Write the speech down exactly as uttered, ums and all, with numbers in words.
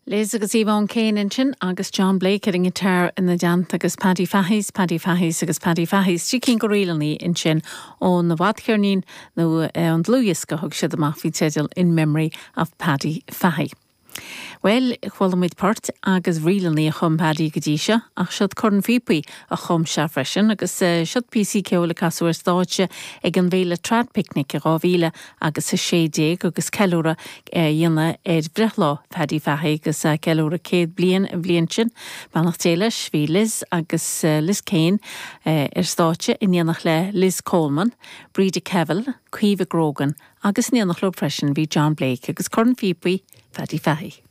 Liz agus Yvonne Kane ansin agus John Blake ar an ngiotár ina dteannta agus Paddy Fahy's, Paddy Fahy's agus Paddy Fahy's trí cinn de ríleanna ansin ón bhfadcheirnín nó an dlúthdhiosca thug siad amach faoin teideal In Memory of Paddy Fahy. Well chuala muid poirt agus ríleanna a chum Paddy go dtí seo ach siod cornphíopaí a chum sé freisin agus uh, siod píosaí ceoil a casadh ar stáitse ag an bhféile Trad Picnic i dhá mhíle agus a sé déag agus ceiliúradh á dhéanamh ar bhreithlá Paddy Fahy agus uh, ceiliúradh céad bliain an bhliain sin. Beannacht Dé leis bhí Liz agus uh, Liz Kane uh, ar stáitse in éineacht le Liz Coleman, Breda Kevill, Caoimhe Grogan agus in éineacht leo freisin bhí John Blake agus cornphíopaí Paddy Fahy.